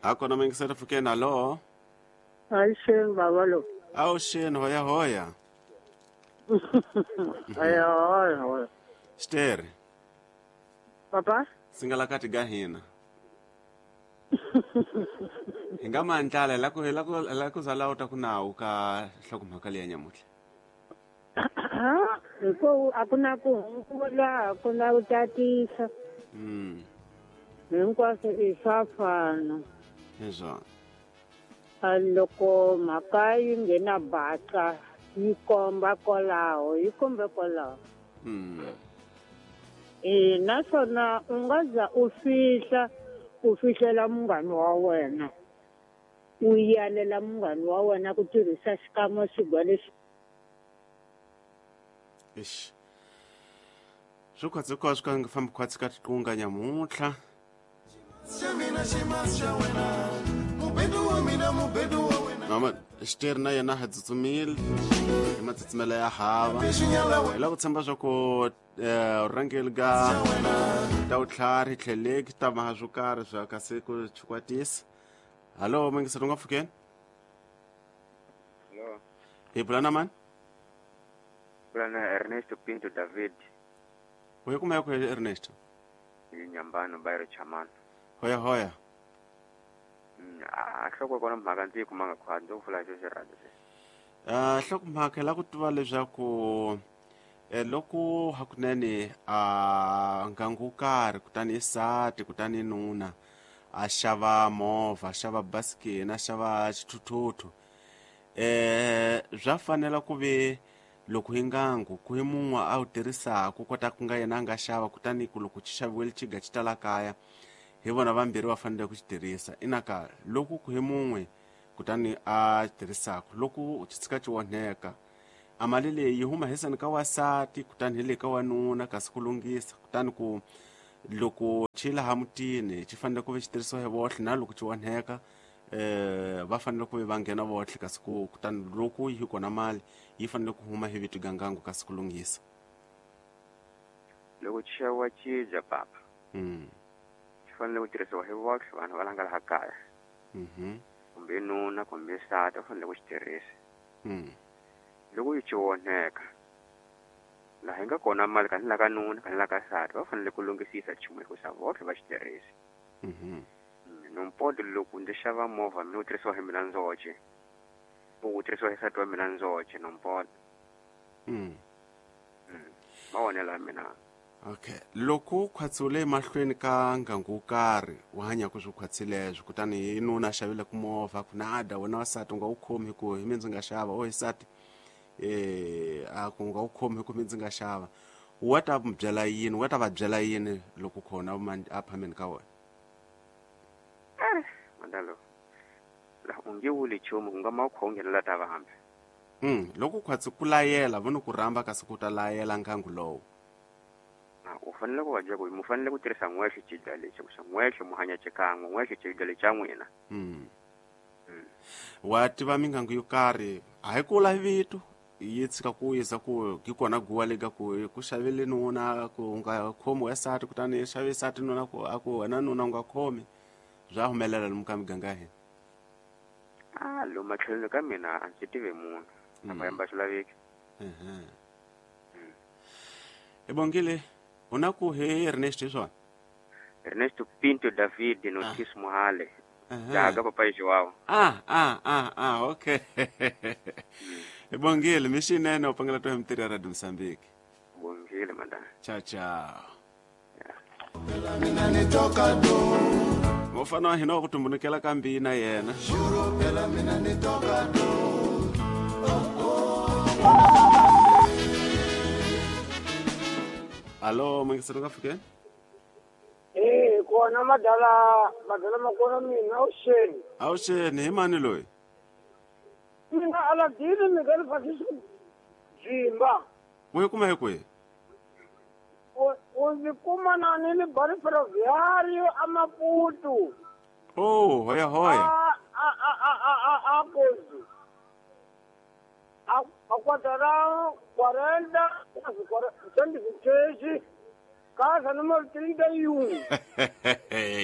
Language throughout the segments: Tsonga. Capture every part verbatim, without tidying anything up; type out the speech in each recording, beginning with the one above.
Akona mingisela fukeni alo. Aisheni baba lo. Awusheni hoya hoya. Hoya hoya hoya. Steri. Papa? Singalakati gahina. Hinga mandlala la ku la ku la ku zala uta kunawu ka hlokomhaka leyi nyamuhla. Hiko akuna ku hungula akuna ku tatisa. Mm. Hinkwaswo i swa fana. Hezwo. Loko mhaka yi nghena baca yi komba kwalaho yi kombe kwalaho. Mm. E naswona u nga za u fihla u fihlela munghana wa wena u yalela munghana wa wena ku tirhisa xikamo xigwa lexi. Eish. Swi khwatsi ko swi ka nga fambi khwatsi ka tiqunga nyamuntlha. Mama xiteri na yena ha tsutsumile hi matsutsumelo ya hava hi lava ku tshemba swa ku rhangeli ka ta vutlhari tlheleki ta maha swo karhi swa kasi ku chikwatisa. Hallo mingiselo nga pfukeni. Hello. Hi bula na mani? Bula na Ernesto Pinto David. U yi kuma ku Ernesto? Hi Nyambano Bayro Chamano. Hoya hoya. A hloko kona mhaka ndzi yi kumanga khwatsi ndzi ku pfula xo xi rhandza se. Ah hlokomhaka la ku tiva leswaku loko hakunene a ngangu wo karhi kutani i sati kutani nuna a xava movha a xava basikeni a xava xithuthuthu eh swa fanela ku ve loko hi ngangu ku hi mun'we a wu tirhisaka kota ku nga yena a nga xava kutani ku loko xi xaviwile xiga xi ta la kaya hi vona vambirhi va fanele ku xi tirhisa inaka loko ku hi mun'we kutani a tirhisaka loko xi tshika xi onheka a mali leyi yi huma hisani ka wasati kutani hi le ka wanuna kasi ku lunghisa kutani ku loko xi laha mutini xi fanele ku ve xi tirhisiwa hi vohle na loko xi onheka eh va fanele ku ve va nghena vohle kasi ku kutani loko yi kona mali yi fanele ku huma hi vito gangangu kasi ku lunghisa. Loko xi xaviwa xibya papa. Mm. Xi fanele ku tirhisiwa hi vohle vanhu va la nga laha kaya. Mhm. Kumbe nuna kumbe nsati va fanele ku xi tirhisa. Mm. Loko yi xi onheka laha yi nga kona mali ka ni la ka nuna ka ni la ka nsati va fanele ku lunghisisa nchumu hikusa vohle va xi tirhisa. Mhm. Nompoto loko ndzi xava movha mina wu tirhisiwa hi mina ndzoxe wu tirhisiwa hi nsati wa mina ndzoxe nompoto. Mm. Mavonelo ya mina. Okay. Loko khwatsiwile emahlweni ka ngangu wo karhi wu hanyaka swi khwatsileswo kutani hi nuna a xavile ku movha ku nada wena wasati u nga wu khomi hi ku hi mina ndzi nga xava o hi nsati eh a ku nga wu khomi hi ku mi ndzi nga xava wa ta mi byela yini wa ta va byela yini loko khona a phameni ka wena? Eh mandalo la u nge wuli nchumu ku nga ma u nghenela ta vambe. Mm loko khwatsi ku layela vona ku rhamba kasi ku ta layela ngangu lowu. U fanele ku va byela ku mu fanele ku tirhisa n'wexe xibya lexi ku xa n'wexe mu hanya xikan'we n'wexe xibya lexi xa n'wina. Mm. Wa tiva mingangu yo karhi a hi kula hi vito yi tshika ku yisa ku hi kona guwa le ka ku ku xavele nuna ku nga khomi wa nsati kutani xave nsati nuna ku a ku wena nuna u nga khomi bya humelela lomu ka miganga ya hina. Ah lomu matlhelweni ka mina a ndzi tivi munhu a va yamba swi laveki. Mhm. Ibongile u na ku he Ernest hi swona? Ernesto Pinto David Notice Muhale. Jaga papa Joao. Ah ah ah ah okay. Ibongile mixinene u pangela to hi ya Radio Mozambique. Bongile madam. Ciao ciao. Mufana wa hina wa ku tumbulukela ka mbina yena. Alo mingiselo nga fikeni? Eh kona madala madala makona mina awuxeni. Awuxeni hi mani loyi? Mina Aladini mi nga ri Jimba. U yi kuma hi kwihi? U ndzi kuma na ni le Bari Ferroviário a Maputo. Oh, hoya hoya. A a a a a a kozi. A a quadrarão quarenta, quase quarenta, cento e vinte. Casa número trinta e um.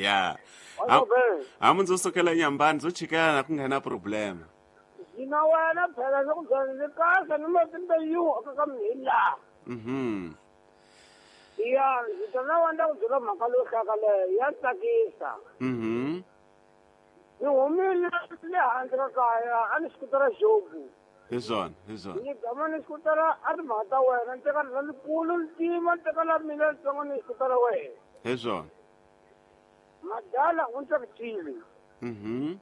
Ya. Hamu ndzo sukela nyambani ndzo chikela ku nga na problema. Hina wena phela loko ndzi casa número trinta e um aka ka mina. Mhm. Ya, ndzi ta wanda ku byela mhaka leyo hlaka leyo ya tsakisa. Mhm. Ni humile le handle ka kaya a ni xikutara jobu. Hi swona, hi swona. Ni gama ni xikutara a timhaka ta wena ni teka la likulu ntima ni teka la mina litsongo ni xikutara wena. Hi swona. Madala u ntsakisile. Mhm.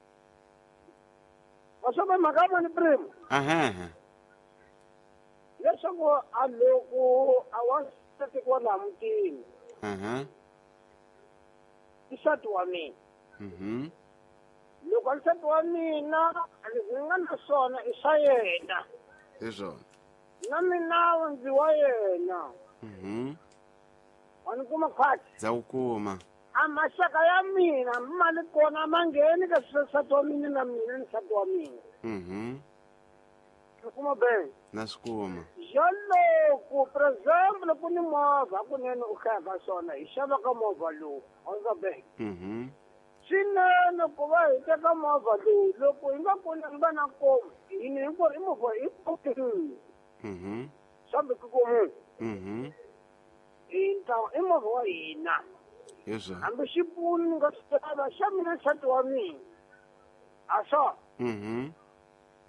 Wa swa mhaka ya ni primo. Ahah. Leswaku a loko a wa tekiwa laha mutini. Ahah. I nsati wa mina. Mhm. Loko nsati wa mina leswi nga na swona i swa yena. Hi swona. Na mina ndzi wa yena. Mhm. Wa ni kuma khwatsi. Ndza ku kuma. A maxaka ya mina ma li kona ma ngheni ka nsati wa mina na mina ni nsati wa mina. Mhm. Ni kuma be. Na swi kuma. Loko por exemple ku ni movha kunene u hlaya swona hi xava ka movha lowu wa be. Mhm. Swinene ku va hi teka movha lowu loko hi nga koni hi va na nkomu hini hinkwerhu i movha i komu. Mhm. Swa ku komu. Mhm. I ntlawa i movha wa hina. Hi swona. Hambi xipunu ni nga swi xava xa mina nsati wa mina. A swona. Mhm.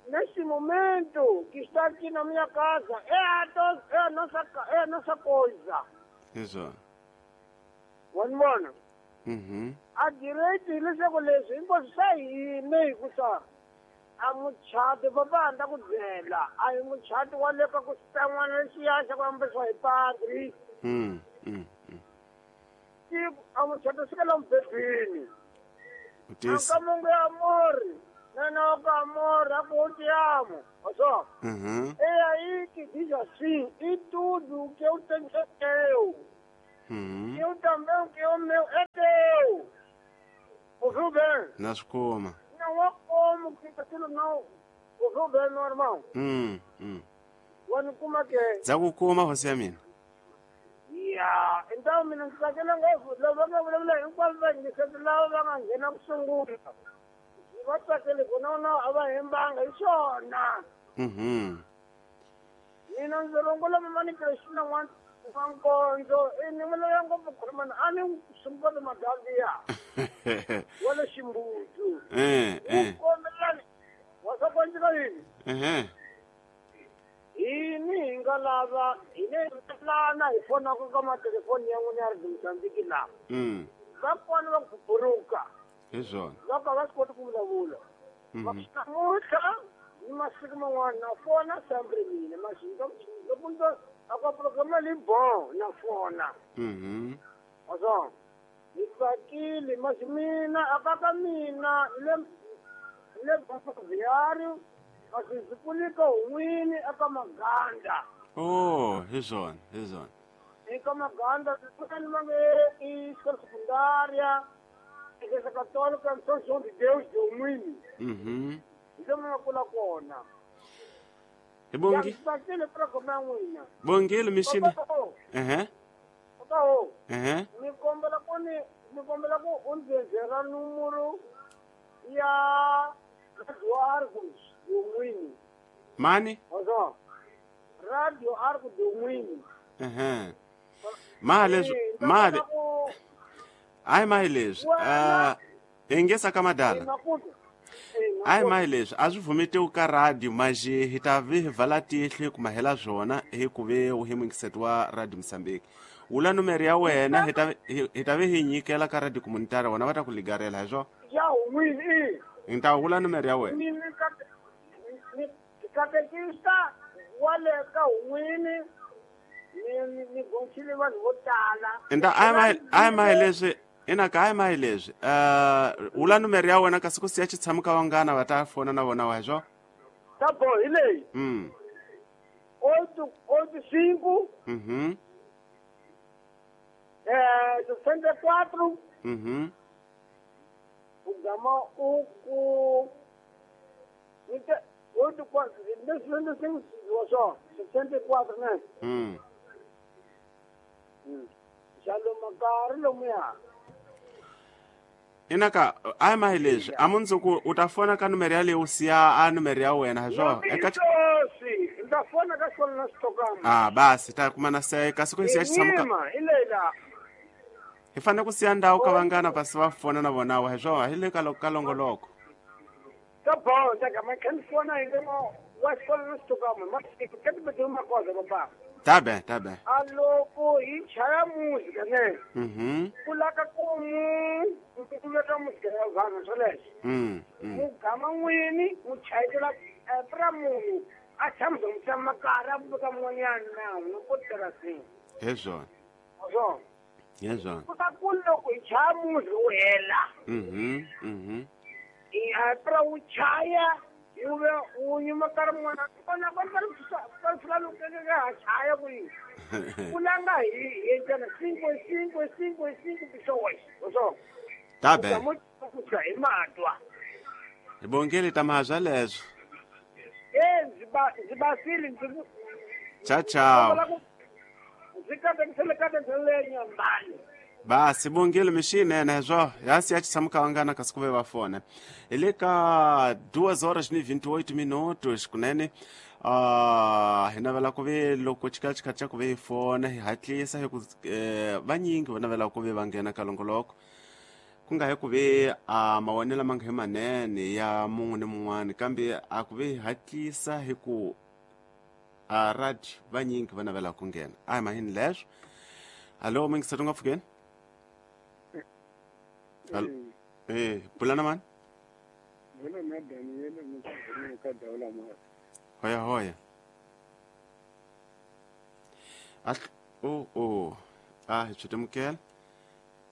Nesse momento que está aqui na minha casa é a, do, é a, nossa, é a nossa coisa. Isso. Wanibona? Mhm. A direito leswaku leswi hinkwaswo swa hina hikusa a muchato papa a ta ku byela a hi muchato wa le ka ku xitan'wana lexiya xa ku ambariwa hi padri. Mm. Mm. A muchato swi ka mubedweni. Utisi. Aka mungu ya amor. Não, não, amor, eu te amo. Olha só. Uhum. É aí que diz assim, e tudo que eu tenho é teu. Uhum. Eu também, o que é meu é teu. Ouviu bem? Nas como? Não há como que aquilo não. Ouviu bem, meu irmão? Hum, hum. Quando como é que é? Zago como você, mina? Ya, então, mina, aquele negócio, levanta, enquanto vai, você lá, vai, não, não, va tsakele ku no no a va hembanga hi swona. Mhm. Mina ndzi rungula mamani Krishna n'wana wa nkondzo i ni vulavula ngopfu khulumana a ni sungula madaviya wa le ximbudu. Eh eh. Kombelani wa swa kwandzika yini? Eh. Hini hi nga lava hine lana hi fonaka ka matelefoni ya n'wina ya ri Mozambique laha. Mm. Va kona va ku buruka. Hi swona. Loko va swi koti ku vulavula. Namuntlha ni masiku man'wana na fona sempre mina masiku loko ndo a ka programa li bon na fona. Mhm. Wa swona. Ni tsakile masi mina a ka ka mina le le Bviari kasi ndzi kulika hun'wini eka Maganda. Oh, hi swona, hi swona. Eka Maganda kutani va nge i xikolo sekundária. Igreja Católica São João de Deus de Umini. Mhm. Ndio mna kona. Hi bongi. Bongile mishini. Eh. Papa. Eh. Ni kombela ku ni ni kombela ku u ndzenzela numero ya Radio Argos de Umini. Mani? Ozo. Radio Argos de Umini. Eh. Male male. Ai mai leswi ah engesa ka madala. Ai mai leswi a swi vumetiwi ka radio maji hi ta vi hi vala tihlo ku mahela swona hi ku ve u hi mungiseti wa Radio Mozambique. Wula numero ya wena hi ta hi ta vi hi nyikela ka radio communitaire wona va ta ku ligarela hi swona. Ya wini. Hi ta wula numero ya wena. Ni ni katekista wa le ka wini ni ni gonchile vanhu vo tala. Nda ai mai ai mai leswi ina ka ai mai leswi eh wula numero ya wena kasi ku siya xitshamuka vangana va ta fona na vona wa swo. Ta bo hi leyi. Mm. Oito oito cinco. Mhm. Eh sessenta e quatro. Mhm. U gama u ku oito quatro sessenta e cinco só sessenta e quatro, né? Mm. Mm. Jalo makari lomuya. Inaka a ma hi leswi a mundzuku u ta fona ka numero yaleyo u siya a numero ya wena hi swona eka si nda fona ka xona na xitokama ah basi ta kuma na se kasi ku siya xitshamuka hi hi fanele ku siya ndhawu ka vangana pasi va fona na vona wa hi swona hi le ka ka longoloko ka bonda ka ma kan fona hi le wa xona na xitokama ma ka ti ma koza baba tabe tabe aloko hi chaya muzika ne mhm kulaka ku mu kulaka muzika ya vanhu swoleswo mhm mugama n'wini mu chayela pra munhu a tshama mu tshama makara buka mun'wanyana na n'wi ku tirhasini hi swona swona hi swona ku ta ku loko hi chaya muzika wu hela mhm mhm hi pra wu chaya yuve unye makara mwana kona kona ka fula lukeke ha chaya ku yi kulanga hi hi tana cinco cinco cinco cinco pisoy so tabe ku hi matwa hi bongele ta mahazwa leswo eh ndzi ba ndzi basile ndzi cha chao ndzi katekisele katekisele nyambani basi bongile mixinene swo ya siya xitshamuka vangana kasi ku ve va fona hi le ka duas horas ni vinte e oito minutos kunene uh, hi navela ku ve loko xikatxikati xa ku ve hi fona hi hatlisa hi ku eh, vanyingi va navela ku ve va nghena ka longoloko ku nga hi ku ve a mavonelo ma nga hi manene ya mun'we ni mun'wana kambe a ku ve hi hatlisa hi ku a radio vanyingi va navela ku nghena a hi mahini leswo alo mingisati nga pfukeni Allo. Eh, pulana man. Bona na Daniel mo ka daula ma. Hoya hoya. Ah oh oh. Ah, chutemkel.